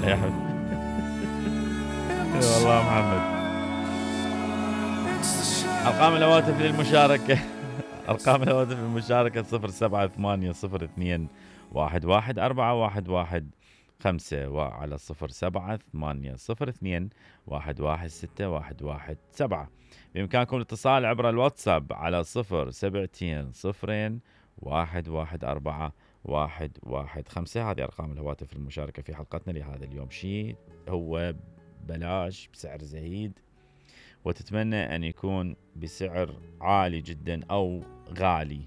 يا حبيبي والله محمد. ارقام الهواتف للمشاركه ارقام الهواتف للمشاركه 0780211415 وعلى 0780211617. بامكانكم الاتصال عبر الواتساب على 07201141115. هذه ارقام الهواتف المشاركه في حلقتنا لهذا اليوم. شيء هو بلاش بسعر زهيد، وتتمنى أن يكون بسعر عالي جدا أو غالي.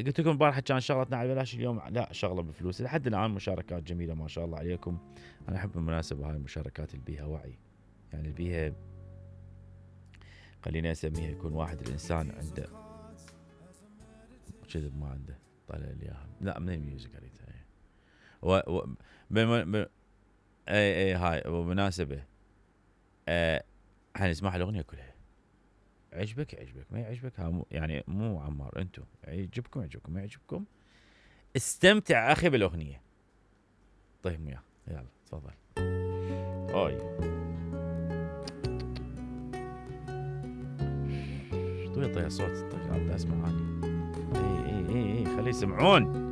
قلت لكم البارحة كان شغلتنا على بلاش، اليوم لا، شغلة بفلوس. لحد الآن مشاركات جميلة ما شاء الله عليكم. أنا أحب بالمناسبة هاي المشاركات اللي بيها وعي، يعني اللي بيها خليني أسميها يكون واحد الإنسان عنده كذب ما عنده طالع لي إياها. لا من الميوزك قريتها اي هاي ومناسبة حنسمع الأغنية كلها. عجبك ما يعجبك يعني مو عمار، انتو يعجبكم ما يعجبكم استمتع اخي بالأغنية. طيب وياه يلا تفضل. اوي طيب صوت، طيب اسمع هاني. اي خليه يسمعون.